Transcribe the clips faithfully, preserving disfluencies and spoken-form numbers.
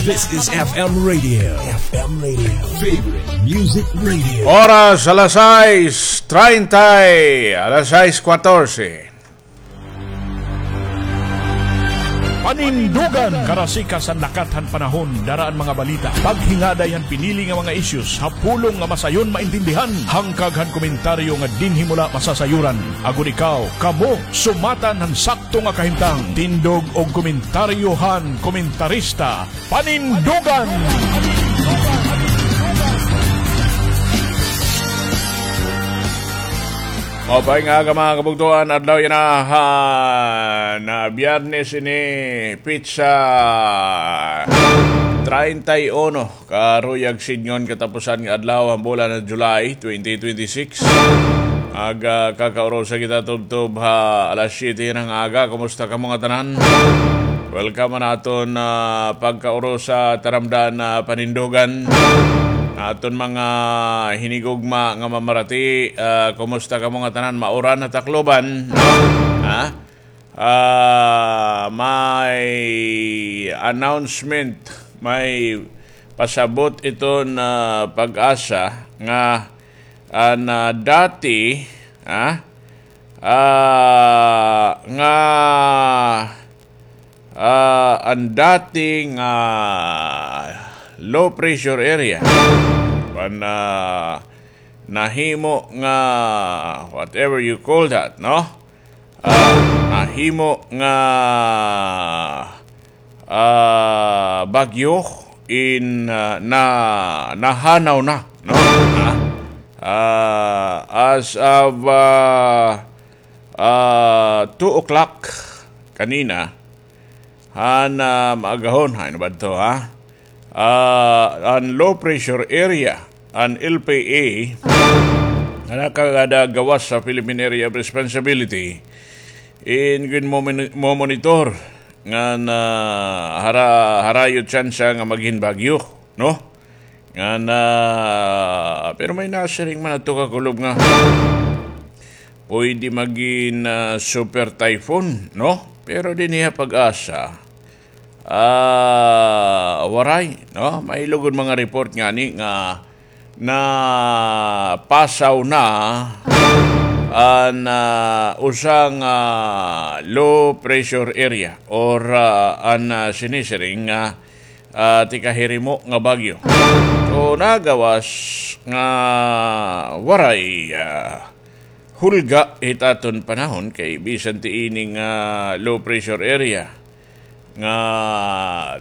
This is F M Radio. F M Radio. Favorite Music Radio. Oras alas sais treinta, alas sais katorse. Panindugan! Karasikas han lakat han panahon, dara an mga balita, paghingaday han pinili nga mga issues ha pulong nga masayon maintindihan, hangkag han komentaryo nga dinhi mo la masasayoran. Agod ikaw, kamo, sumatan han sakto nga kahimtang. Tindog og komentaryo han komentarista. Panindugan! Maupay nga aga, mga kabugtoan, adlaw yana han Biyernes ini, petsa treinta y uno, karuyag sidngon katapusan nga adlaw han bulan han July twenty twenty-six. Aga, kakaurusa kita tubtob ha alas siyete han aga. Kumusta kamo ngatanan? Welcome han aton, ah, pagkaurusa, taramdan, ah, panindugan. Aton mga hinigugma nga mamarati, ah, kumusta kamo ngatanan? Mauran ha Tacloban, no? Ha? Ah, may announcement, may pasabot iton, ah, PAGASA nga an, ah, dati, ha? Ah, nga, ah, an dati nga low pressure area, an, ah, nahimo nga whatever you call that, no? Ah, nahimo nga, ah, bagyo in, ah, na, nahanaw na, no? Ah, ah, as of, ah, ah, two o'clock kanina, han, ah, maagahon, hain na ba ito, ha? Ah, an low pressure area, an L P A, nga nakagada gawas sa Philippine Area of Responsibility, in ginmomoni-, momonitor ngan, ah, hara-, harayo tsansa nga magin bagyo, no? Ngan, ah, pero may nasiring man adto kakulob nga pwede magin, ah, super typhoon, no? Pero dinhi ha PAGASA, ah, waray, no? May lugod mga report ngani nga napasaw na an, ah, usa nga low pressure area or, ah, an, ah, sinisiring nga, ah, tikahirimo nga bagyo. So, nagawas nga waray, ah, hulga hit aton panahon kay bisan ti ini nga low pressure area nga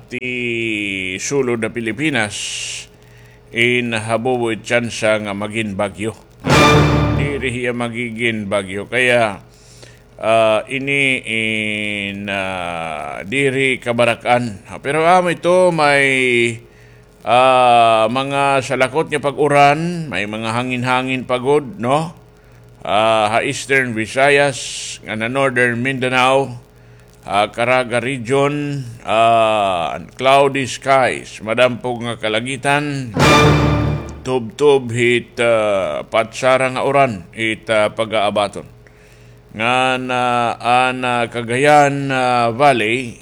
tisulod ha Pilipinas, in habubo it tsansa nga magin bagyo. Diri hiya magigin bagyo. Kaya, ah, ini in, ah, diri kabarak-an. Pero amo ito, may ah, mga salakot nga pag-uran, may mga hangin-hangin pa gud, no? Ah, ha Eastern Visayas, ngan ha Northern Mindanao, ah, Caraga Region, ah, cloudy skies, madampog nga kalangitan, tubtob hit, ah, patsara nga uran, it, ah, pag-aabaton. Ngan, ah, an, ah, Cagayan, ah, Valley,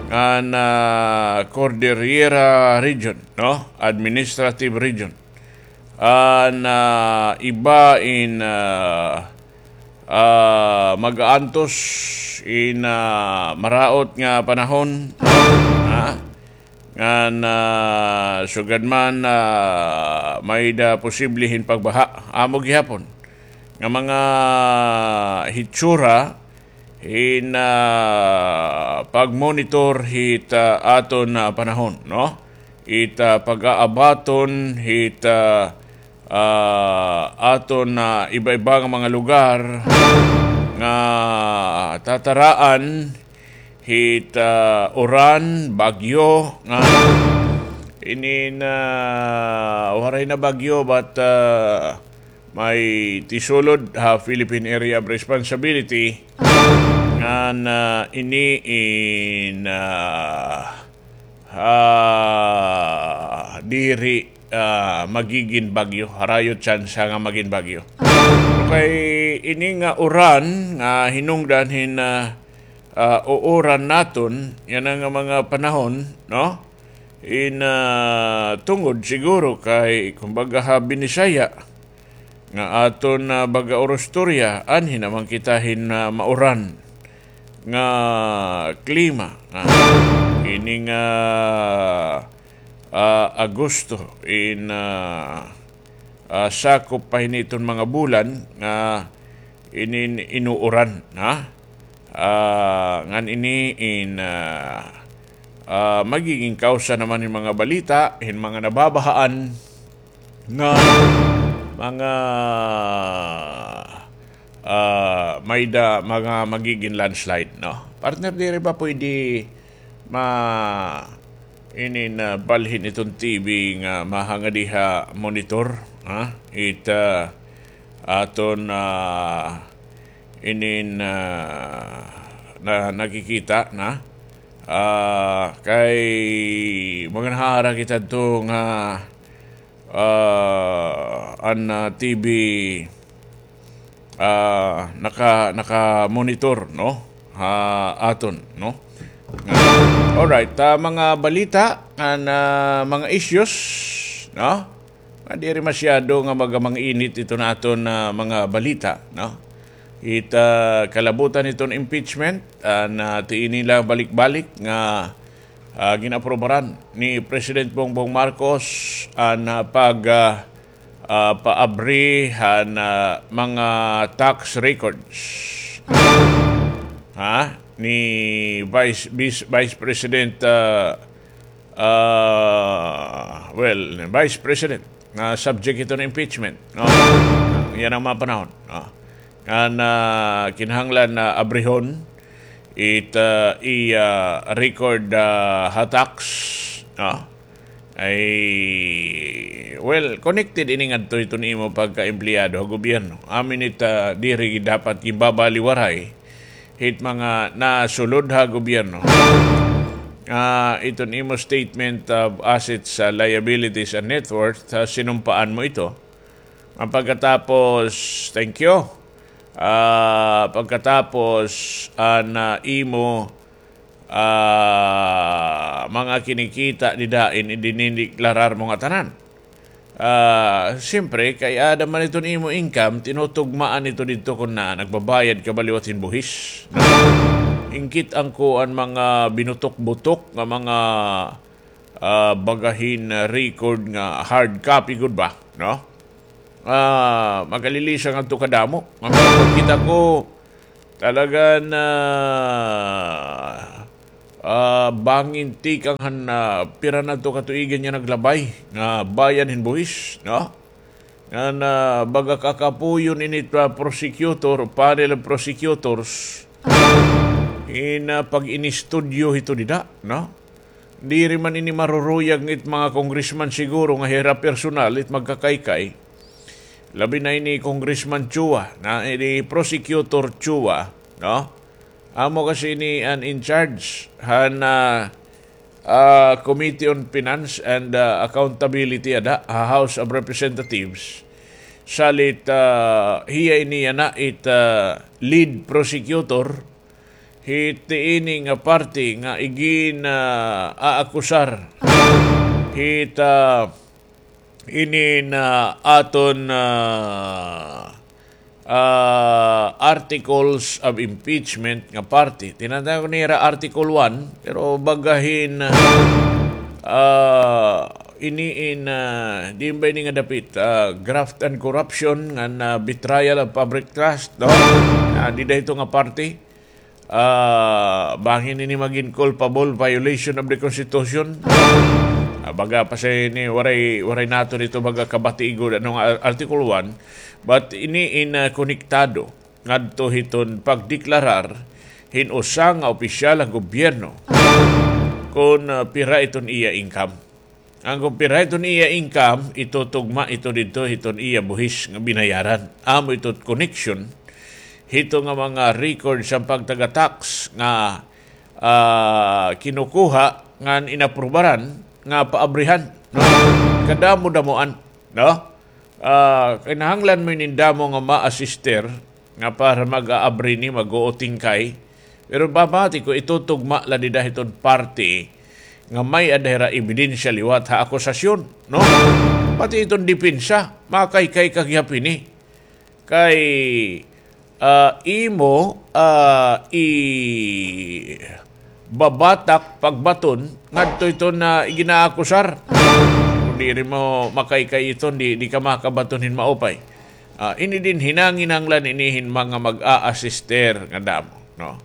ngan, ah, Cordillera Region, no? Administrative Region. An, ah, iba in, ah, ah, mag-aantos in, ah, maraot nga panahon, no? Ha? Ngan, ah, sugad man, ah, may-ada posible hin pagbaha. Amo gihapon nga mga hitsura hin, ah, pag-monitor hit, ah, aton, ah, panahon, no? It, ah, pag-aabaton hit, ah, ah, aton, ah, iba-iba nga mga lugar nga tataraan hit, ah, uran, bagyo, nga ini na waray na bagyo, but, ah, may tisulod ha Philippine Area of Responsibility, ngan, ah, ini in, ah, ah, diri, ah, magigin bagyo, harayo tsansa nga magin bagyo. Okay, ini nga uran nga hinungdan hin, ah, ah, uuran naton yana nga mga panahon, no? In, ah, tungod siguro kay, kumbaga, ha Binisaya, nga aton, ah, baga orostorya, anhi naman kita hin, ah, mauran nga klima, ah, ining, ah, ah, Agosto, in, ah, ah, sakop pa hini iton mga bulan nga inin inuuran, ha? Ah, ngan ini in, ah, ah, magiging kawsa naman hin mga balita, hin mga nababahaan nga mga, ah, may da, mga magiging landslide, no? Partner, diri ba pwede ma-, inin, ah, balhin iton T V nga mahangad ha monitor, ha? It, ah, aton, ah, inin, ah, na nakikita na. Ah, kay maganhara kita adto nga, ah, an, ah, T V, ah, naka-, naka-monitor, no? Ha aton, no? Nga, alright, ah, mga balita, an, ah, mga issues, no? Nga diri masyado nga magamang init iton aton, ah, mga balita, no? It, ah, kalabutan iton impeachment, ah, na tiini la balik-balik nga, ah, gin-aprobaran ni President Bongbong Marcos an, ah, pag, ah, ah, paabri han, ah, mga tax records. Ha? Ni Vice, Vice, Vice President, ah, ah, well, Vice President, nga subject ito ng impeachment, no? Yana nga mga panahon, no? Ngan, ah, kinahanglan na abrihon it, ah, iya record, ah, ha tax, no? Ay, well, connected ini ngadto hiton imo pagka-empleyado ha gobyerno. Amin it, ah, diri dapat ginbabaliwaray hit mga nasulod ha gobyerno. Ah, iton imo statement of assets, ah, liabilities, and net worth, ah, sinumpaan mo ito. Ang pagkatapos, thank you. Ah, pagkatapos, ah, na imo, ah, mga kinikita dida, in-, idinideklarar mo nga tanan. Ah, siyempre, kay aada man iton imo income, tinutugmaan ito didto kun na nagbabayad ka ba liwat hin buhis. Ingkit-an ko an mga binutok-butok nga mga, ah, baga hin, ah, record nga hard copy gud ba, no? Ah, magalilisan ngadto kadamo. Nga makita ko, talaga na, ah, bangin tikang han, ah, pira na to katuigan nga naglabay nga bayad hin buhis, no? Nga na baga kakapuyon ini it, ah, prosecutor, panel of prosecutors, in, ah, pag-inistudyo hito dida, no? Diri man ini maruruyag it mga congressman siguro nga hira personal it magkakaykay. Labi na ini Congressman Chua, na ini Prosecutor Chua, no? Amo kasi ini an in charge han, ah, ah, Committee on Finance and, ah, Accountability ada ha House of Representatives. Salit, ah, hiya ini yana it, ah, lead prosecutor hit ini nga parte nga igin, ah, aakusar hit, ah, ini nga aton, ah, ah, articles of impeachment nga parte. Tinatawag nira Article one, pero baga hin, ah, ini in, ah, diin ba ini nga dapit, ah, graft and corruption, ngan, ah, betrayal of public trust, no? Ah, dida hito nga parte. Ah, bangin ini magin culpable violation of the Constitution. Ah, baga pa sa ini, waray, waray naton ito baga kabati gud ano nga Article one, but ini in, ah, konektado ngadto hiton pagdeklarar hin usa nga opisyal ha gobyerno kun, ah, pira iton iya income. An kon pira iton iya income, itutugma ito didto hiton iya buhis nga binayaran. Amo ito connection hito nga mga record sa pagtaga-tax nga, ah, kinukuha ngan inaprubaran nga paabrihan, no? Kadamo-damoan, no? Ah, kinahanglan mo ini hin damo nga ma-assister nga para mag-aabri ni, mag-uutingkay. Pero pamati ko, itutugma la dida hiton parte nga may-ada hira ebidensya liwat ha akusasyon, no? Pati iton depensa, makaykay ka gihap hini. Kay, ah, imo, ah, ibabatak, pagbaton ngadto iton, ah, iginaakusar. Kon diri mo makaykay iton, di, di ka makabaton hin maupay. Ah, ini dinhi nanginahanglan ini hin mga mag-a-assister nga damo, no?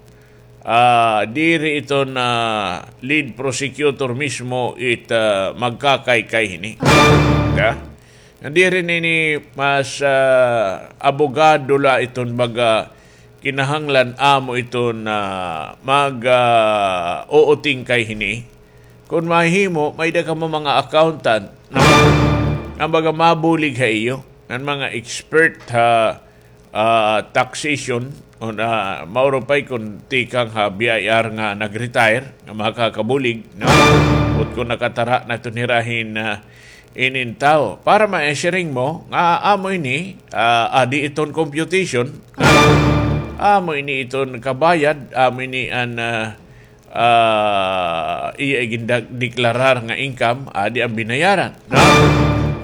Ah, diri iton, ah, lead prosecutor mismo it, ah, magkakaykay hini. Nga diri ini mas, ah, abogado la iton baga kinahanglan amo iton, ah, mag, ah, uutingkay hini. Kon mahimo, may-ada kamo mga accountant, no? Nga baga mabulig ha iyo, ngan mga expert ha, ah, taxation, o na, mauro pa'y kon tikang ha B I R nga nag-retire, nga makakabulig, no? Bukod kon nakatara na iton hira hin, ah, inin tawo. Para maisiring mo, nga amo ini, ah, adi iton computation, amo ini iton kabayad, amo ini an, ah, ah, iya igindeklarar nga income, adi an binayaran, no?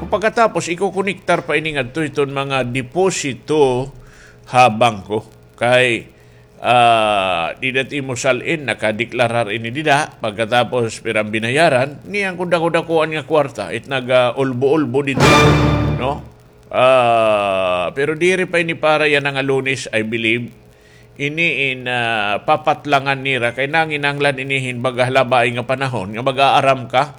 Kon pagkatapos, ikokonektar pa ini ngadto iton mga deposito ha bangko. Kay, ah, dida it imo sal-in, nakadeklarar ini dida, pagkatapos pira an binayaran, niyan kon dako-dakoan nga kwarta, it naga-ulbo-ulbo didto, no? Ah, pero diri pa ini para yana nga Lunes, I believe. Ini in, ah, papatlangan nira kay nanginahanglan ini hin baga ha labaay nga panahon nga mag-aaram ka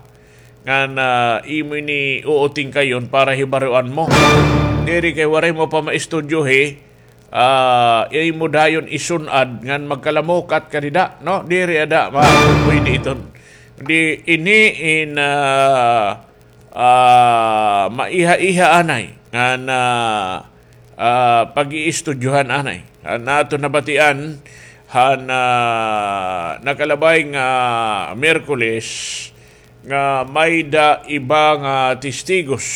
ngan, ah, imo ini uutingkayon para hibaroan mo. Diri kay waray mo pa maistudyohi, ah, imo dayon isun-ad ngan magkalamukat ka dida, no? Diri ada ma-, pwede iton. Di ini in, ah, ah, maiha-iha anay ngan, ah, ah, pag-iistudyohan anay. An aton nabatian han, ah, nakalabay nga Miyerkules nga may-da iba nga testigos.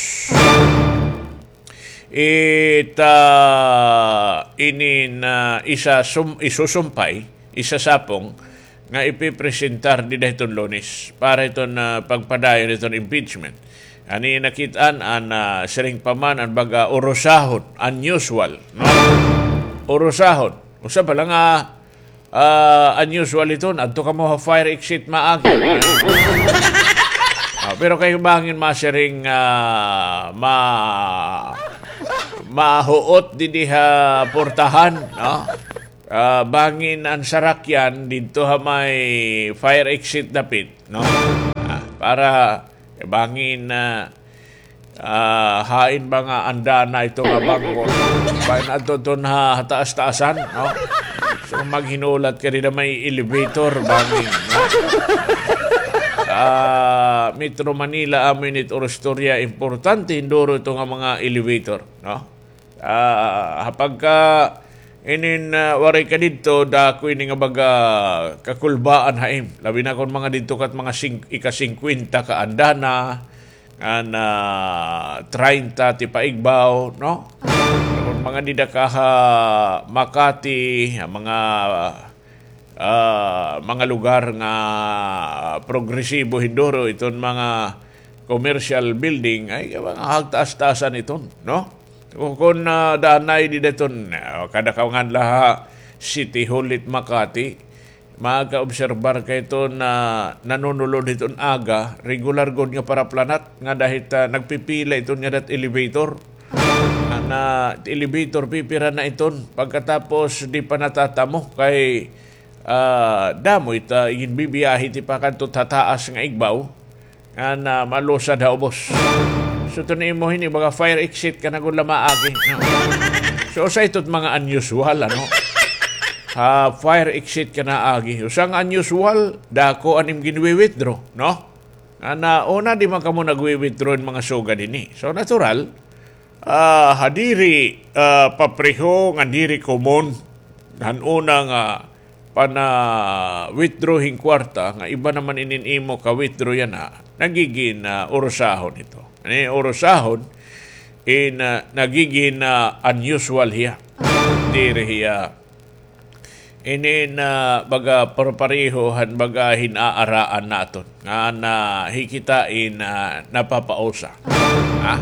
It, ah, inin, ah, isa sum-, isusumpay, isasapong, nga ipipresentar dida hiton Lunes para hiton, ah, pagpadayon hiton impeachment. Ani nakit-an an, ah, siring pa man an baga urusahon, unusual, no? Urusahon. Usa pa la nga, ah, unusual iton, adto kamo ha fire exit maagi. Ah, pero kay bangin masiring, ah, ma-, mahuot didi ha portahan, no? Ah, bangin an sarakyan didto ha may fire exit dapit, no? Ah, para, eh, bangin, ah, ah, hain ba nga andana ito nga bangko? Bangin adto ton ha, ha taas-taasan, no? So, maghinulat ka dida may elevator, bangin, no? Ah, Metro Manila, amo ini it oro istorya, importante hinduro ito nga mga elevator, no? Ah, ha pagka inin, ah, waray ka didto, dako ini nga baga kakulbaan ha im. Labi na kon mga didto ka hit mga sing-, ika-singkwenta ka andana, ngan, ah, traynta ti paigbaw, no? Kon mga dida ka ha Makati, ha mga ah, mga lugar nga progresibo hinduro iton mga commercial building, ay, mga hagtaas-taasan iton, no? O kon, ah, danay dida iton, ah, kada kaw ngan la ha City Hall it Makati, makaobserbar ka iton na nanunulod hiton aga, regular gud nga paraplanat, ngada hit, ah, nagpipila iton ngada hit elevator. An, ah, elevator, pipira na iton. Pagkatapos, di pa natatamo kay, ah, damo it, ah, iginbibiyahe ti pakadto ha taas nga igbaw. Ngan, ah, malusad ha ubos. So, iton imo hini, baga fire exit ka na gud la maagi, no? So, usa ito it mga unusual, ano? Ha, fire exit ka na agi. Usa nga unusual, dako an im ginwi-withdraw, no? Ngan, ah, una, di man kamo nagwi-withdraw hin mga sugad hini. So, natural, ah, ha diri, ah, papreho ngan diri common han una nga pana-withdraw hin kwarta, nga iba naman inin imo ka-withdraw yana, nagigin, ah, urusahon ito. Ani urusahon, in, ah, nagigin, ah, unusual hiya. Diri hiya Ini na baga parpareho han baga hin-aaraan naton. Nga na hikita in, ah, napapausa. Ha?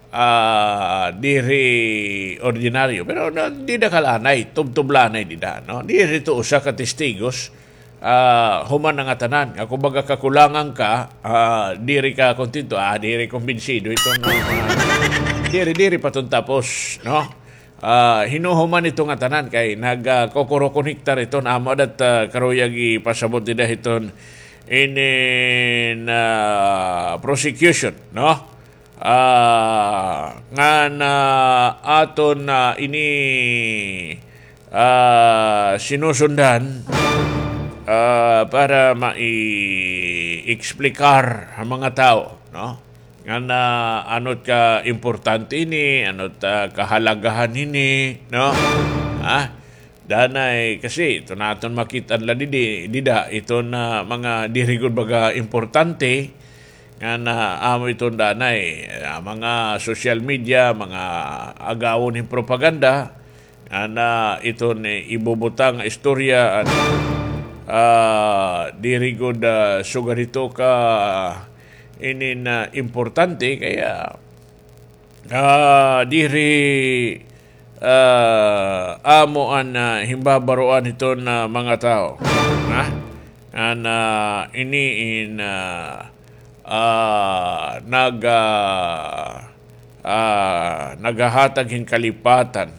Ah, diri ordinaryo. Pero na, dida ka la anay, tubtob la anay dida, no? Diri to usa ka testigos, ah, human na ngatanan. Nga kumbaga kakulangan ka, ah, diri ka kontento, ah, diri kumbinsido ito, no? Ah, diri, diri pa ton tapos, no? Ah, hinuhuman ito ngatanan kay nag, ah, kokorokonektar iton amo dat, ah, karuyag ipasabot dida hiton inin, ah, prosecution, no? Ah, ngan aton na ini, ah, sinusundan, ah, para mai-explicar ha mga tawo, no? Ngan ano it kaimportante ini, ano it, ah, kahalagahan ini, no? Ha? Danay, kasi ito naton makit-an la didi, dida, iton mga diri gud baga importante, ngan amo iton danay, ah, mga social media, mga agawon hin propaganda, ngan iton ibubutang nga istorya, an, ah, diri gud, ah, sugad hito ka inin, ah, importante, kaya, ah, diri, ah, amo an, ah, himbabaroan hiton, ah, mga tawo. Ha? An, ah, ini in, ah, ah, nag, ah, ah, naghahatag hin kalipatan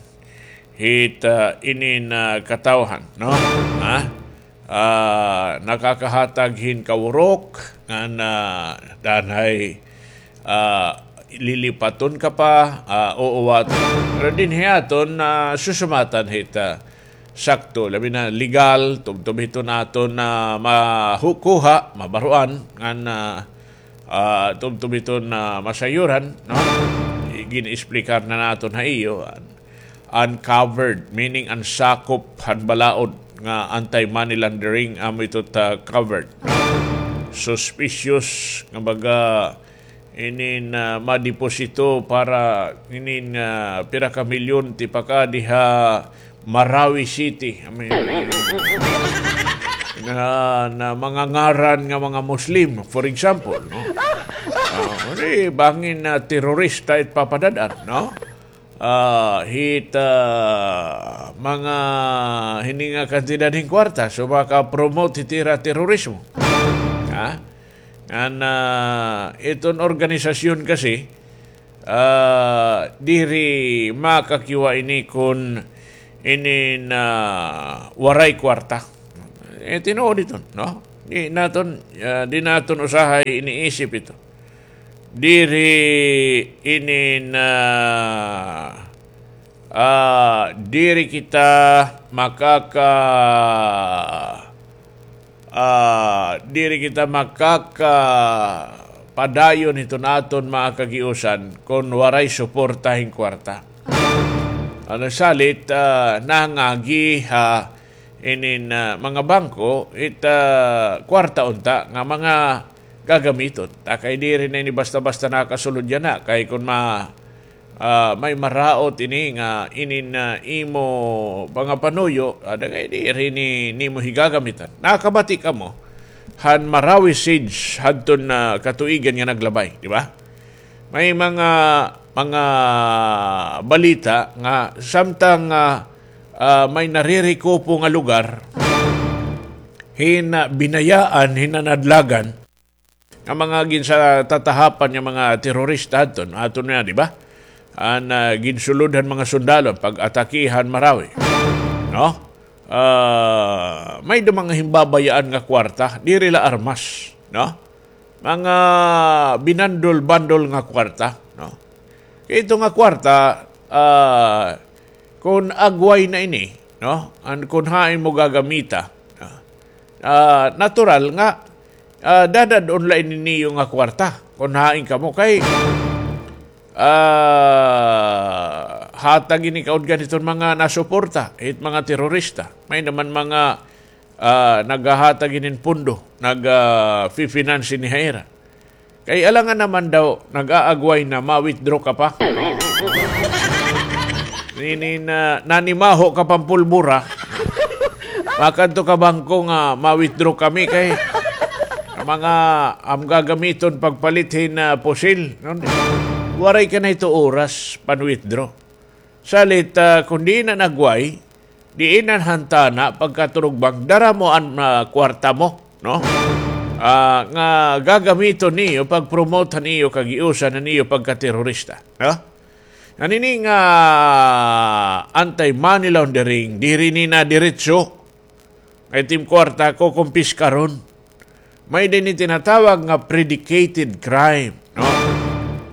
hit, ah, inin, ah, katawhan, no? Ha? Ah, nakakahatag hin kawurok ngan danay, ah, lilipaton ka pa, ah, uuwaton. Pero dinhi aton, ah, susumatan hit, ah, sakto, labi na legal, tubtob hiton aton, ah, makuha, mabaroan, ngan, ah, tubtob hiton, ah, masayuran, no? Gin-explicar na naton ha iyo, ah, uncovered, meaning an sakop han balaod nga anti-money laundering, amo ito ta covered. Suspicious nga baga inin, ah, madeposito para inin, ah, pira ka milyon tipakadi ha Marawi City. I mean, na, na mga ngaran nga mga Muslim, for example, no? Ah, di, bangin na terorista it papadad-an, no? Ah, hit, ah, mga hini nga kantidad hin kwarta, so maka-promote hit ira terorismo. Ha? Ngan, ah, iton organisasyon kasi, ah, diri makakiwa ini kun inin waray kwarta. Eh, tinuod iton, no? Di naton, ah, di naton usahay iniisip ito. Diri inin, ah, diri kita makaka-, ah, diri kita makakapadayon hiton aton mga kagiusan kon waray suporta hin kwarta. Ano salit, ah, nangagi ha inin, ah, mga bangko, it, ah, kwarta unta nga mga gagamiton. Ta kay diri na ini basta-basta nakasulod yana, kay kon ma-, ah, may maraot ini nga inin, ah, imo pangapanuyo, ada kay diri ni, nimo higagamitan. Nakabati kamo han Marawi Siege hadton, ah, katuigan nga naglabay, di ba? May mga, mga balita nga samtang, ah, ah, may naririkupo nga lugar, hin, ah, binayaan, hinanadlagan, nga mga ginsatatahapan nga mga terorista adton, aton na, di ba? An, ah, ginsulod han mga sundalo, pag-atake han Marawi. No? Ah, may da mga himbabayaan nga kwarta, diri la armas, no? Mga binandol-bandol nga kwarta, no? Kay ito nga kwarta, ah, kon agway na ini, no? An kon hain mo gagamita, no? Ah, natural nga, ah, dadad-on la ini niyo nga kwarta kon hain kamo kay, ah, hatag ini kaudgan hiton mga nasuporta, hit mga terorista. May naman mga, ah, naghahatag inin pondo, nag, ah, fi-finance ini ha ira. Kay alangan naman daw, nag-aagway na, ma-withdraw ka pa. Nini na, nanimaho ka pang pulbura. Makadto ka bangko nga ma-withdraw kami kay mga am gagamiton pagpalit hin, ah, pusil, no? Waray ka na ito oras pan-withdraw. Salit, ah, kon diin na nagway, diin na han tana pagkaturugbang, dara mo an, ah, kwarta mo, no? Ah, nga gagamiton niyo pag-promote han iyo kagiusan, han iyo pagkaterorista, no? An ini nga anti-money laundering, diri ni na diretso nga it im kwarta kukumpiskaron. May-ada ini tinatawag nga predicated crime, no?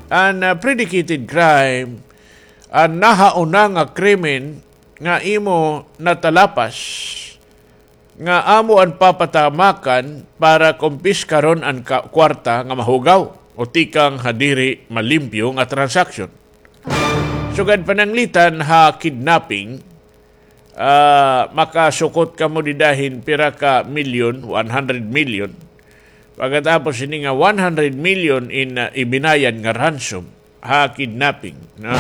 An, ah, predicated crime, an nahauna nga krimen nga imo natalapas nga amo an papatamakan para kumpiskaron an ka-, kwarta nga mahugaw o tikang ha diri malimpyo nga transaksyon. Sugad pananglitan ha kidnapping, ah, makasukot kamo dida hin pira ka milyon, one hundred million. Pagkatapos ini nga one hundred million in, ah, ibinayad nga ransom ha kidnapping, no?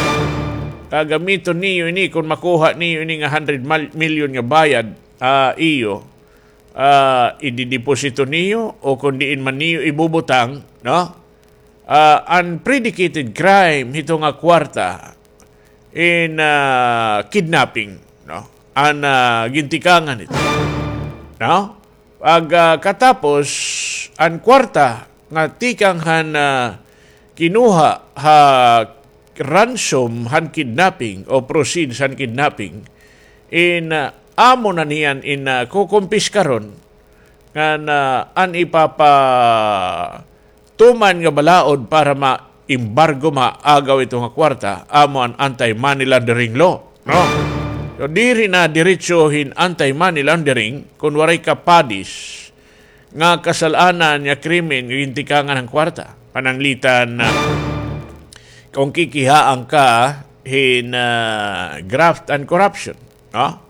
Gagamiton niyo ini, kon makuha niyo ini nga hundred mal-, million nga bayad, ah, iyo, ah, idideposito niyo o kon diin man niyo ibubutang, no? Ah, an predicated crime hito nga kwarta in, ah, kidnapping, no? An, ah, gintikangan hito, no? Pag, ah, katapos, an kwarta nga tikang han, ah, kinuha ha ransom han kidnapping o proceeds han kidnapping, in, ah, amo na niyan in, ah, kukumpiskaron ngan, ah, an ipapatuman nga balaod para ma-embargo, maagaw ito nga kwarta, amo an anti-money laundering law, no? So, diri na diretso hin anti-money laundering kon waray kapadis nga kasal-anan nga krimen nga gintikangan han kwarta. Pananglitan na kon kikihaan ka hin, ah, graft and corruption, no?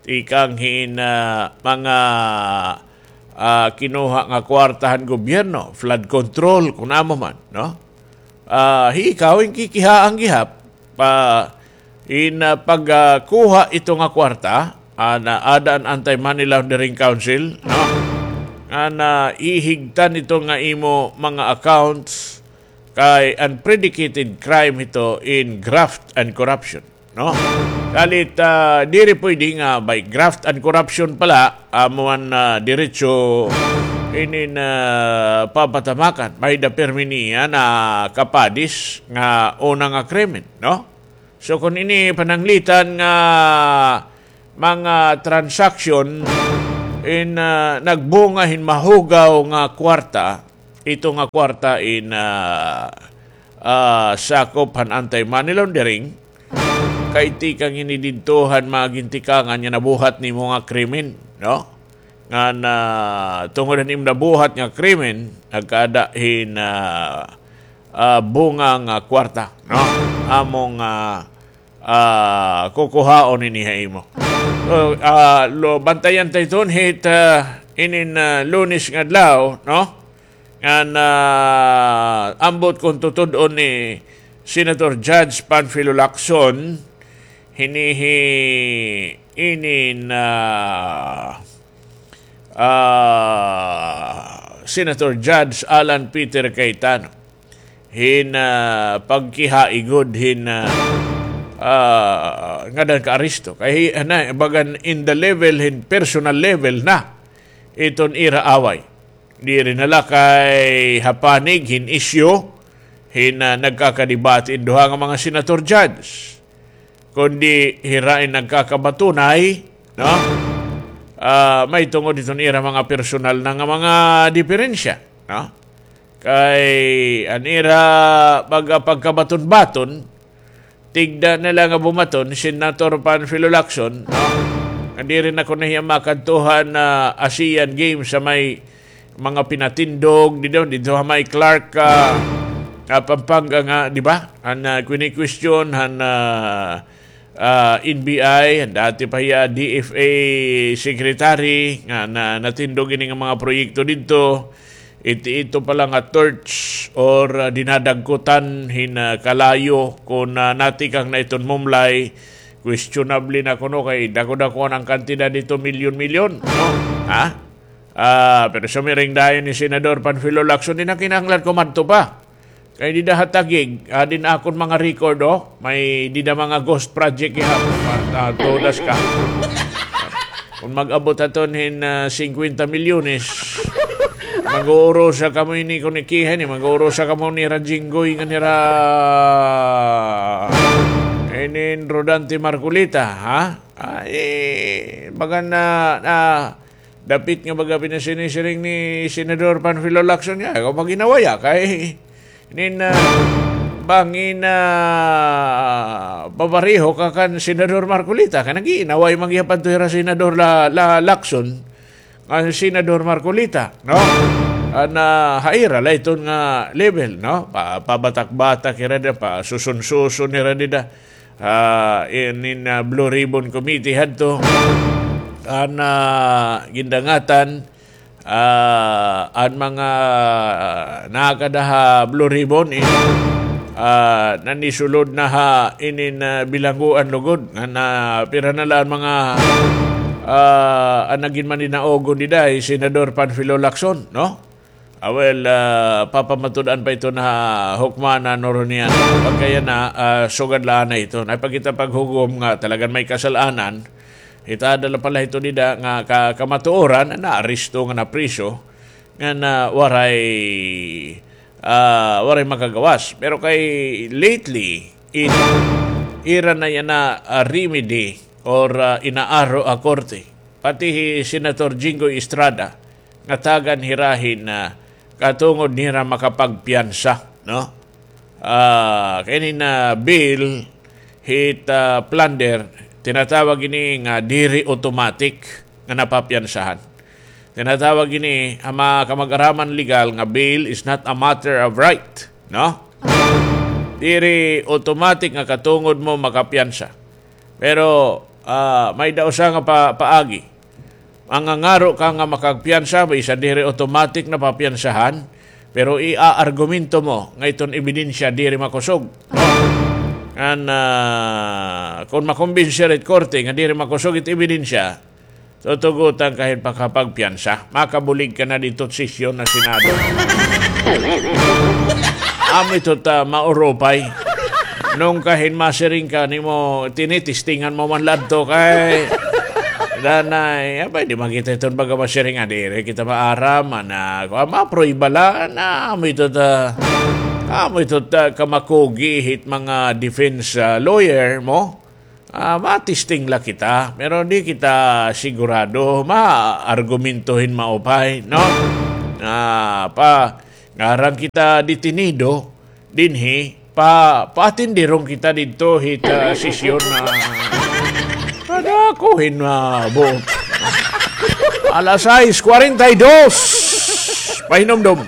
Tikang hin, ah, mga, ah, kinuha nga kwarta han gobyerno, flood control, kon amo man, no? Ah, hi ikaw in kikihaan gihap, pa, in, ah, pag, ah, kuha ito nga kwarta, ah, na ada an Anti-Money Laundering Council, no? Nga na ihigtan ito nga imo mga accounts kay an predicated crime ito in graft and corruption, no? Salit, ah, diri pwede nga by graft and corruption pala, amo an, ah, diretso inin, ah, papatamakan. May-ada pirmi niya na kapadis nga una nga krimen, no? So, kon ini pananglitan nga mga transaksyon in, ah, nagbunga hin mahugaw nga kwarta, ito nga kwarta in, ah, ah, sakop han anti-money laundering, kay tikang ini didto han mga gintikangan nga nabuhat nimo nga krimen, no? Nga na, tungod han imo nabuhat nga krimen, nagkaada hin, ah, ah, bunga nga kwarta, no? Amo nga, ah, kukuhaon ini ha imo. So, ah, lo, bantayan ta iton hit, ah, inin, ah, Lunes nga adlaw, no? Ngan, ah, ambot kon tutud-on ni Senator Judge Panfilo Lacson, hini hi inin, ah, ah, Senator Judge Alan Peter Cayetano hin, ah, pagkihaigod hin, ah, ah, ngadan ka aresto. Kay hi-, ana, bagan in the level hin personal level na iton ira away. Diri na la kay ha panig hin isyu hin, ah, nagkakadebate in duha nga mga senator judge, kundi hira in nagkakabatunay, no? Ah, may tungod hiton ira mga personal na nga mga diperensya, no? Kay an ira pag-, pagkabaton-baton, tigda na la nga bumaton, Senator Panfilo Lacson, no? Nga diri na kuno hiya makadto han, ah, Asian Games ha may mga pinatindog didto, didto ha may Clark, ah, ah, Pampanga nga, di ba? An, ah, kini-question han, ah, ah, N B I, an dati pa hiya D F A secretary nga na, natindog ini nga mga proyekto didto. Iti, ito pala nga torch or, ah, dinadagkutan hin, ah, kalayo kon, ah, natikang na iton mumlay Questionable na kuno kay dako-dako an kantidad didto, milyon-milyon, no? Ha? Ah, pero sumiring dayon hi Senador Panfilo Lacson, di na kinahanglan kumadto pa. Kay dida ha Taguig, ah, dida akon mga record, oh. May dida mga ghost project iha. Ah, ah, todas ka. Kon mag-abot aton hin, ah, singkwenta milyones, mag-uurusa kamo ini kon ikiha ini, mag-uurusa kamo nira Jinggoy ngan nira, eh, nin Rodante Marcoleta, ha? Ay, baga na, na, dapit nga baga pinasinisiring ni Senador Panfilo Lacson nga, ikaw mag-inaway, ah, kay nin, ah, bangin, ah, papareho ka kan Senador Marcoleta, kay nag-iinaway man gihapon to hira Senador La, La Lacson, kan Senador Marcoleta, no? An, ah, ha ira la iton nga level, no? Pa, pabatak-batak hira dida, pasuson-suson hira dida. Ah, inin, ah, Blue Ribbon Committee hadto. An, ah, gindangatan, ah, an mga, ah, nakada ha Blue Ribbon, in, ah, nanisulod na ha inin, ah, bilangguan lugod. Ngan, ah, pira na la an mga, ah, an nagin maninaugon dida hi Senador Panfilo Lacson, no? Ah, well, ah, papamatud-an pa iton ha hukmanan, Noronian. Pagkayana, ah, sugad la anay iton. Ay pa kita paghugom nga talagan may kasal-anan. Itada la pala ito dida nga ka-, kamatuoran, naaresto nga napriso. Nga na waray, ah, waray makagawas. Pero kay lately, in, ira na yana, ah, remedy or, ah, inaaro a korte. Pati hi Senator Jinggoy Estrada, nga tagan hira hin, ah, katungod nira makapagpiyansa, no? Ah, kay inin, ah, bill hit, ah, plunder, tinatawag ini nga diri automatic nga napapiyansahan. Tinatawag ini ha mga kamag-araman legal nga bail is not a matter of right, no? Diri automatic nga katungod mo makapiyansa. Pero, ah, may-ada usa nga pa-, paagi. Mangangaro ka nga makagpiyansa, bisan diri automatic na papiyansahan, pero iaargumento mo nga iton ebidensya diri makusog. Ngan, ah, kon makumbinsi it korte nga diri makusog it ebidensya, tutugotan ka hin pakapagpiyansa. Makabulig ka na didto sesyon na Senado. Amo ito ta maurupay. Nung kahin masiring ka nimo, tinitistingan mo man ladto kay danay, apay, di makita iton baga masiring nga diri kita maaram, ana, kuan, maprueba la, na, amo ito ta, amo ito ta kamakugi hit mga defense, ah, lawyer mo. Ah, matisting la kita, pero di kita sigurado, maargumento hin maupay, no? Ah, pa, ngarang kita detenido, dinhi, pa, paatenderon kita didto hit, ah, sesyon na padako hin, ah, buot. Alas sais kwarenta y dos. Pahinumdom.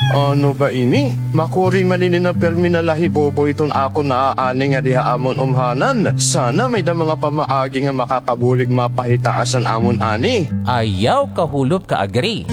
Ano ba ini? Makuri man ini na pirmi na la hi Bobo iton akon naaani ngadi ha amon umhanan. Sana may-ada mga pamaagi nga makakabulig mapahitaas an amon ani. Ayaw kahulop ka, Agri.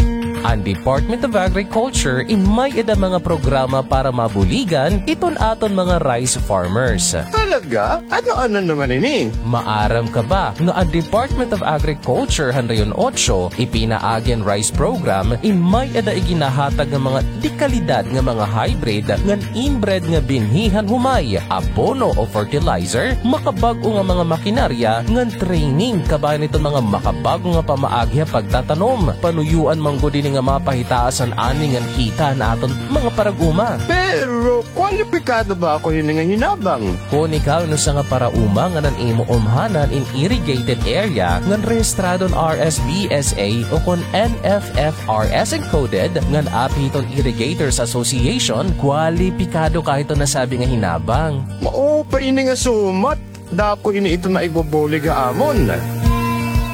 An Department of Agriculture in may-ada mga programa para mabuligan iton aton mga rice farmers. Talaga? Ano-ano naman ini? Maaram ka ba nga an Department of Agriculture han Rehiyon Otso ipinaagi an rice program in may-ada iginahatag nga mga dekalidad nga mga hybrid ngan inbred nga binhi han humay, abono o fertilizer, makabag-o nga mga makinarya ngan training kabahin iton mga makabag-o nga pamaagi ha pagtatanom. Panuyoan man gud ini nga mapahitaas an ani ngan kita han aton mga parag-uma. Pero kwalipikado ba ako hini nga hinabang? Kon ikaw in usa nga parauma ngan an imo umhanan in irrigated area ngan rehistradon R S B S A o kon N F F R S encoded ngan api hiton Irrigators Association, kwalipikado ka hiton nasabi nga hinabang. Mao pa ini nga sumat. Dako ini iton maibubulig ha amon.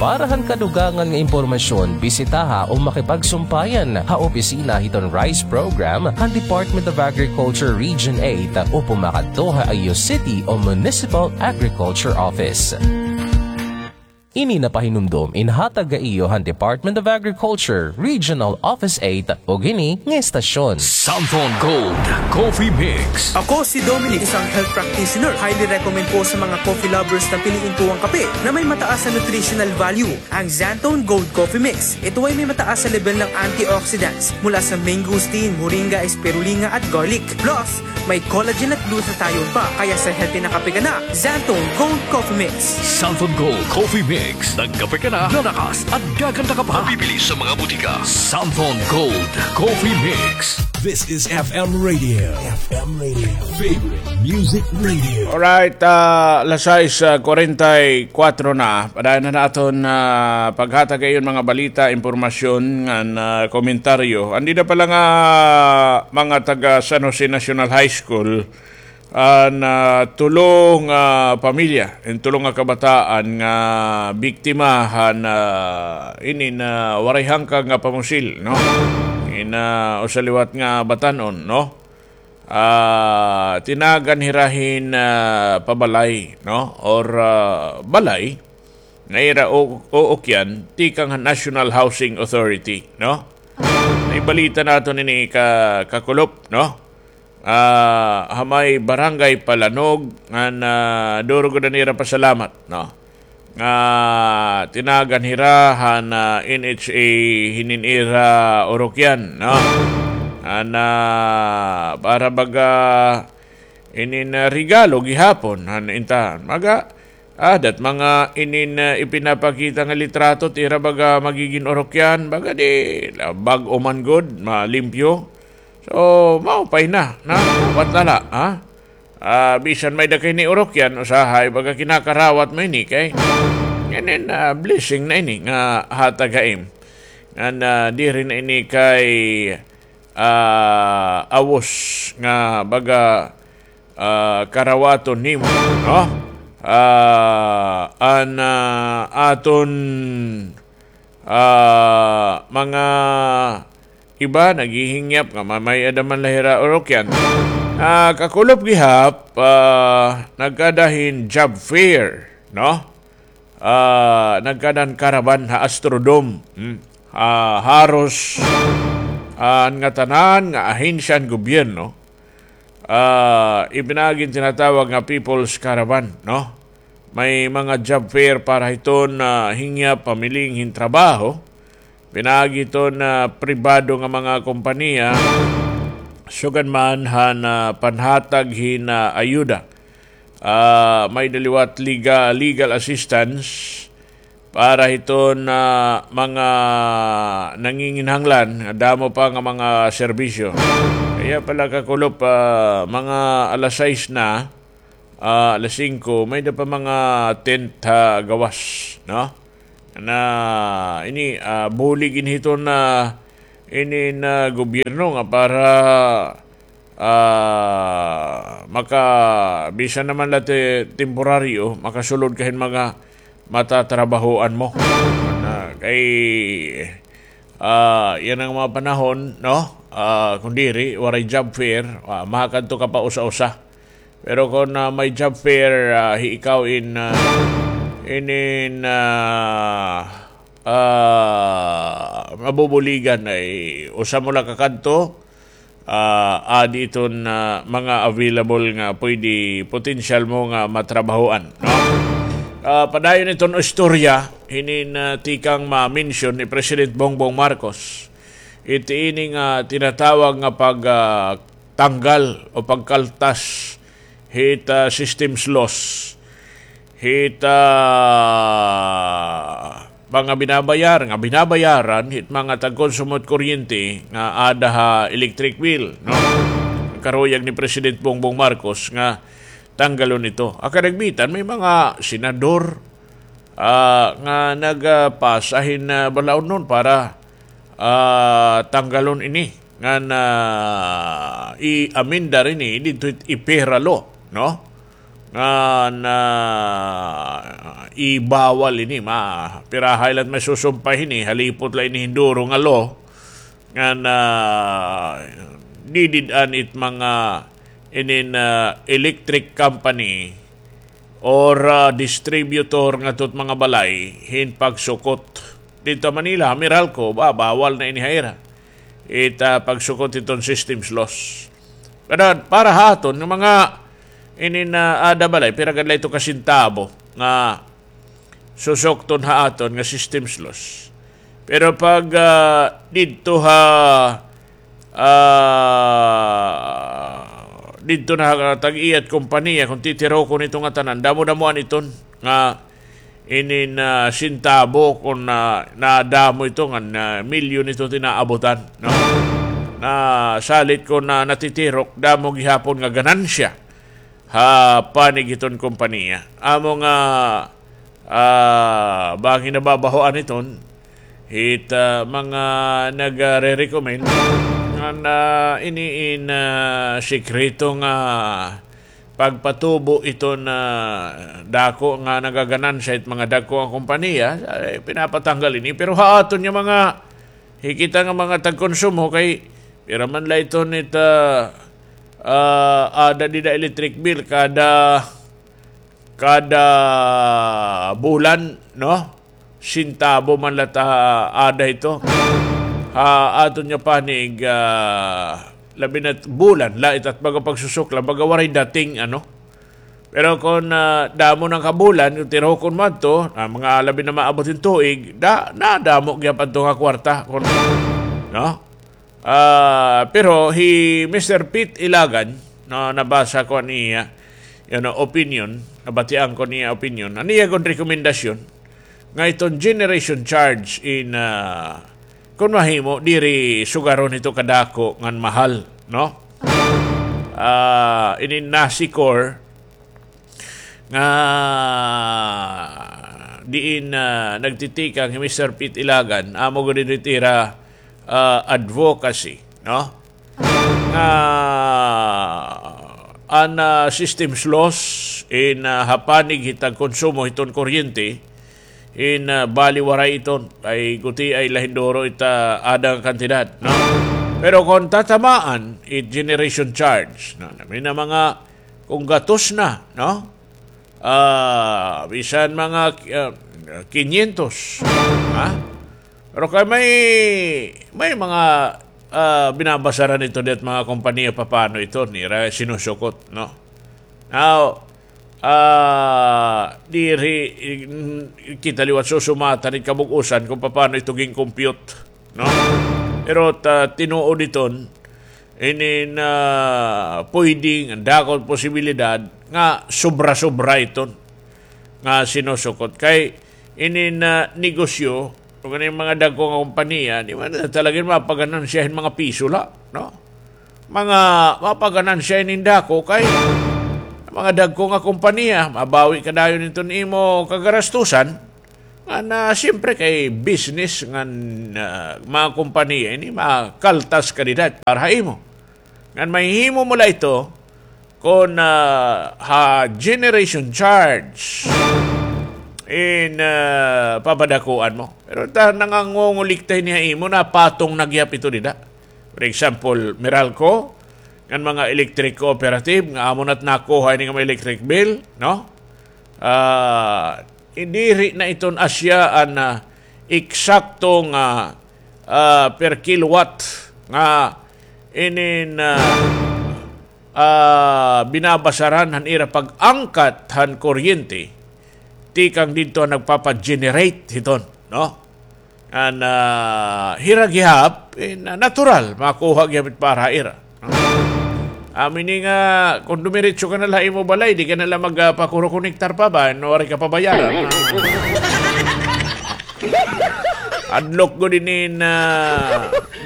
Para han kadugangan nga impormasyon, bisitaha o makipagsumpayan ha opisina hiton rice program han Department of Agriculture Region eight o pumakadto ha iyo city o municipal agriculture office. Ini napahinumdom inhatag ha iyo han Department of Agriculture, Regional Office eight, ug ini nga estasyon. Santon Gold Coffee Mix. Ako si Dominic, isang health practitioner. Highly recommend ko sa mga coffee lovers na piliin ko ang kape na may mataas na nutritional value, ang Xanthone Gold Coffee Mix. Ito ay may mataas na level ng antioxidants mula sa mangosteen, moringa, spirulina at garlic. Plus, may collagen at glutathione pa, kaya sa healthy na kape ka na, Xanthone Gold Coffee Mix. Santon Gold Coffee Mix. Nagkape ka na, lalakas at gaganda ka pa. Mabibili sa mga butika. Santon Gold Coffee Mix. This is F M Radio. F M Radio. Favorite Music Radio. Alright, ah, alas sais, ah, kwarenta y kuwatro na. Padayon na naton, ah, paghatag ha iyo hin mga balita, impormasyon, ngan, ah, komentaryo. Andi na pala nga mga taga San Jose National High School, ah, na tulo nga pamilya, in tulo nga kabataan nga biktima han, ah, ini nga waray hangkag nga pamusil, no? In, ah, usa liwat nga batan-on, no? Ah, tinagan hira hin, ah, pabalay, no? Or, ah, balay nga ira u-, uukyan tikang han National Housing Authority, no? Naibalita naton ini ka-, kakulop, no? Ah, ha may Barangay Palanog, ngan, ah, duro gud an ira pasalamat, no? Nga tinagan hira han, ah, N H A hinin ira urukyan, no? An, ah, para baga inin, ah, regalo gihapon han intahan. Maga, ah, dat mga inin, ah, ipinapakita nga litrato, it ira baga magigin urukyan, baga di, ah, bag-o man gud, malimpyo. So, maupay na, na, upat na la, ha? Ah, bisan may-ada ka hini urukyan, usahay, baga kinakarawat mo ini, kay inin, ah, blessing na ini nga hatag ha im. Ngan, ah, diri na ini kay, ah, awos nga baga, ah, karawaton nimo, no? Ah, an, ah, aton, ah, mga iba naghihingyap nga ma-, may-ada man la hira urukyan. Ah, kakulop gihap, ah, nagkada hin job fair, no? Ah, nagkada hin caravan ha Astrodome. Hmm. Ah, haros, ah, an ngatanan nga ahensya han gobyerno, ah, ipinaagi an tinatawag nga People's Caravan, no? May mga job fair para hiton, ah, hingyap pamiling hin trabaho. Pinaagi hiton, ah, pribado nga mga kompanya, sugad man han, ah, panhatag hin, ah, ayuda. Ah, may-ada liwat liga-, legal assistance para hiton, ah, mga nanginginahanglan, damo pa nga mga serbisyo. Kaya pala, kakulop, ah, mga alas sais na, ah, alas singko, may-ada pa mga tent ha gawas, no? Na ini, ah, bulig ini hiton, ah, inin gobyerno nga para, ah, maka-, bisan na man la ti-, temporaryo, makasulod ka hin mga matatrabahoan mo. Na, kay, ah, yana nga mga panahon, no? Ah, kon diri, waray job fair, ah, makakadto ka pa usa-usa. Pero kon, ah, may job fair, ah, hi ikaw in, ah, inin, ah, ah, mabubuligan, ay usa mo la kakadto, ah, adi iton, ah, mga available nga pwede, potensyal mo nga matrabahoan, no? Ah, padayon iton istorya, hinin, ah, tikang ma-mention ni President Bongbong Marcos. Iti ini nga tinatawag nga pag, ah, tanggal o pagkaltas hit, ah, systems loss, hit, ah, mga binabayar-, nga binabayaran hit mga tagkonsumo hit kuryente nga ada ha electric bill, no? Karuyag ni President Bongbong Marcos nga tanggalon ito. Ha kadagmitan, may mga senador, ah, nga nagpasa hin, ah, balaodnon para, ah, tanggalon ini, ngan, ah, i-amendar ini didto hit EPERA law, no? Ngan, ah, ibawal ini, ma-, pirahay la it masusumpay hini, halipot la ini hin duro nga law, ngan, ah, didid-an it mga inin, ah, electric company or, ah, distributor ngadto hit mga balay hin pagsukot. Didto ha Manila, ha Meralco, ba, bawal na ini ha ira. It, ah, pagsukot hiton systems loss. Pero para ha aton nga mga ini nga ada balay, pira gad la ito ka sentabo nga susukton ha aton nga systems loss. Pero pag, ah, didto ha, ah, didto na ha tag-iya it kompanya, kon titirokon ito nga tanan, damo-damoan iton nga ini nga sentabo kon na, nadamo ito nga, ah, milyon ito it inaabutan, no? Na salit kon na natitirok, damo gihapon nga ganansya ha panig hiton kompanya. Amo nga, ah, bangin nababahoan iton hit, ah, mga nagare-recommend nga, ah, ini in, ah, sikreto nga pagpatubo iton, ah, dako nga nagaganansya it mga dagko nga kompanya, ay, pinapatanggal ini. Pero ha aton nga mga hikita nga mga tagkonsumo kay pira man la iton it, ah, ah, ada dida electric bill kada, kada bulan, no? Sentabo man la it ada ito. Ha aton nga panig, ah, labi na bulan la ito it baga pagsusuklan, baga waray dating, ano? Pero kon, ah, damo na ka bulan, kon tirokon mo adto, ah, mga labi na maabot hin tuig, da, nadamo gihap adto nga kwarta, kon, no? Ah, pero hi Mister Pete Ilagan, no, nabasa ko an iya, you know, opinion, nabatian ko an iya opinion. An iya kon rekomendasyon, nga iton generation charge in, ah, kon mahimo, diri sugaron ito kadako ngan mahal, no? Ah, ini NASICOR, nga diin, ah, nagtitikang hi Mister Pete Ilagan, amo gud it ira, ah, advocacy, no? Nga an, ah, systems loss in, ah, ha panig hit tagkonsumo hiton kuryente, in, ah, bali waray iton, kay gutiay la hin duro it, ah, ada nga kantidad, no? Pero kon tatamaan it generation charge, no, nami na mga kon gatos na, no? Ah, bisan mga, ah, kinyentos, ha? Pero kay may, may mga, ah, binabasaran ito dit mga kompanya papano ito nira sinusukot, no? Now, ah, diri, mm, kita liwat susumatan it kabug-osan kon papano ito gin-compute, no? Pero ta, tinuod iton, ini nga pwede nga dako posibilidad nga sobra-sobra iton nga sinusukot. Kay ini nga negosyo, kon ano it mga dagko nga kompanya, di man talaga mapaganansya hin mga piso la, no? Mga mapaganansya hin dako kay mga dagko nga kompanya, mabawi ka dayon iton imo kagarastusan. Ngan, ah, siyempre kay business ngan, ah, mga kompanya ini, makaltas ka dida para ha imo. Ngan mahihimo mo la ito kon, ah, ha generation charge in, ah, papadakuan mo. Pero ta nangangongolikta ini ha imo, napatong na gihap ito dida. For example, Meralco, ngan mga electric cooperative, nga amo na't nakuha ini nga mga electric bill, no? Ah, diri na iton asya an, ah, eksakto nga, ah, per kilowatt nga inin, ah, ah, binabasaran han ira pag-angkat han kuryente tikang didto han nagpapa-generate hiton, no? An, ah, hira gihap, eh, na-, natural, makuha gihap it para ha ira. Amo ini nga, kon dumiretso ka na la ha imo balay, di ka na la mag, ah, pakuro konektar pa ba, no, waray ka pabayaran. Hadlok gud ini nga,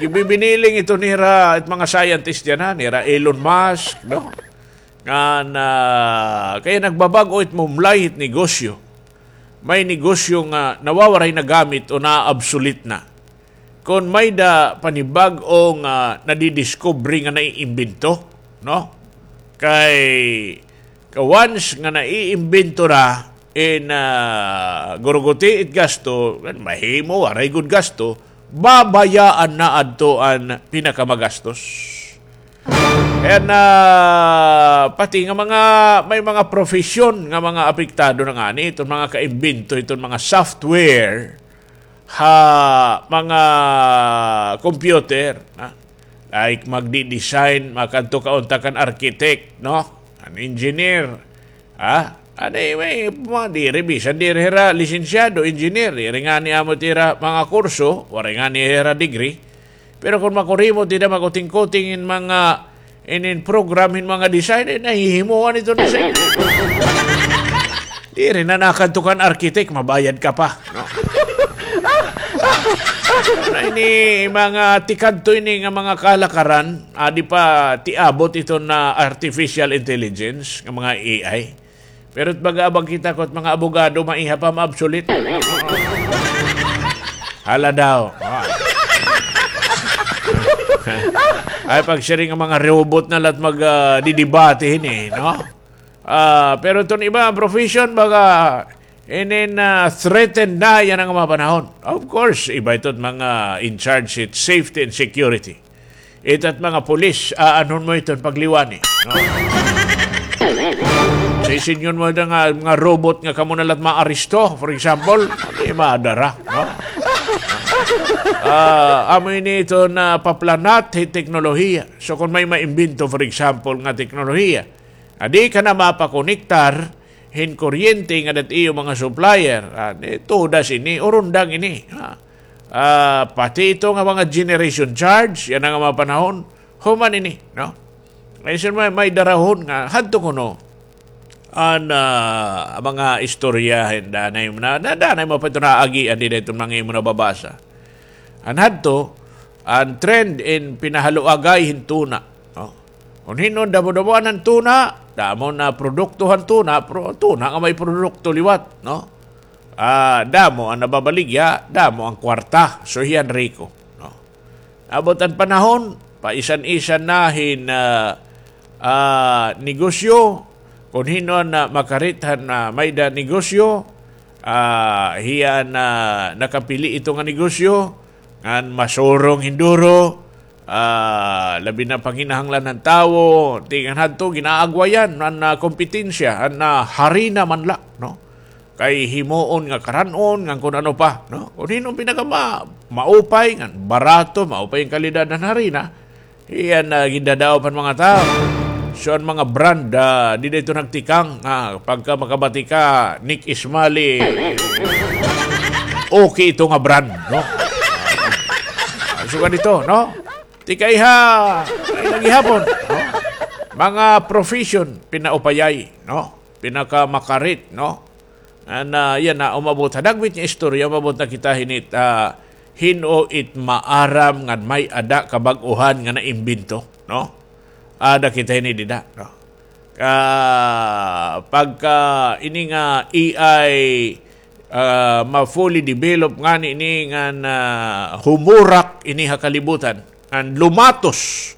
gibibiniling ito nira, it mga scientist dyan, ha, nira Elon Musk, no? Ngan, ah, kay nagbabag-o it mumlay hit negosyo. May negosyo nga nawawaray na gamit o na-obsolete na. Kon may-ada panibag-o nga nadidiscovery nga naiimbento, no? Kay, ka once nga naiimbento na, in, ah, guruguti it gasto, mahimo, waray gud gasto, babayaan na adto an pinakamagastos. And, ah, pati nga mga, may mga profesyon nga mga apektado na ngani, iton mga kaimbento, iton mga software, ha mga computer, ha? Like, magdi-design, makadto ka unta kan architect, no? An engineer, ha? Ano, eh, may, mga diri, bisan diri hira lisensyado, engineer, diri ngani amo it ira mga kurso, waray ngani hira degree. Pero kon makurimot hira, makuting-kuting in mga, inin program, in mga design, eh, nahihimoan ito na sa inyo. Diri na nakadto kan architect, mabayad ka pa, no? Ano ini, mga tikadto ini nga mga kalakaran, adi pa tiabot iton artificial intelligence, nga mga A I. Pero baga abag kita ko, mga abogado, maiha pa ma-obsolete. Hala daw. Ah. Ay, pagsiring nga mga robot na la't mag, ah, didibate hini, no? Ah, pero iton iba profession, baga, inin, ah, threatened na yana nga mga panahon. Of course, iba ito mga in charge it safety and security. Ito't mga pulis, aanhon mo iton pagliwani, no? Sisingon mo na nga, mga robot nga kamo na la't maaresto, for example, di madara, no? Ah, amo ini iton paplanat hin teknolohiya. So, kon may maimbento, for example, nga teknolohiya, adi ka na mapakonektar hin kuryente nga dat iyo mga supplier. Ah, ni, tudas ini, urundang ini. Ah, ah, pati ito nga mga generation charge, yana nga mga panahon, human ini, no? Ay, sir, may, may darahon nga, hadto kuno, an, ah, mga istorya, hin danay mo na, na, danay mo pa ito naagian, di na ito mga imo nababasa. An hadto, an trend in pinahaluagay hin tuna, no? Kon hin-o an damo-damoan han tuna, damo na produkto han tuna, pro-, tuna nga may produkto liwat, no? Ah, damo an nababaligya, damo an kwarta, so hiyan riko, no? Abot an panahon, paisan-isan na hin, ah, ah, negosyo, kon hin-o an, ah, makarit han, ah, may-ada negosyo, ah, hiyan, ah, nakapili ito nga negosyo, ngan masurong hin duro, ah, labi na panginahanglan han tawo, ti ngan hadto, ginaagwayan an, ah, kompetensya, an, ah, harina man la, no? Kay himoon nga karan-on, ngan kon ano pa, no? Kon hin-o an pinaka ma-, maupay, ngan barato, maupay an kalidad han harina, hiyan na gindadaop han mga tawo. So, an mga brand, ah, dida ito nagtikang, ah, pagka makabati ka, Nick Ismali, okay ito nga brand, no? Ah, so, ganito, no? Tikaiha, ay, lagi hapon, no? Mga profession, pinaupayay, no? Pinakamakarit, no? An, ah, yana, umabot ha dagwit nga istorya, umabot na kita hini it, ah, hin-o it maaram ngan may-ada kabag-ohan nga naimbento, no? Ada kita hini dida, no? Ah, pagka ini nga A I, ah, ma-fully develop ngani ini ngan, ah, humurak ini ha kalibutan, ngan lumatos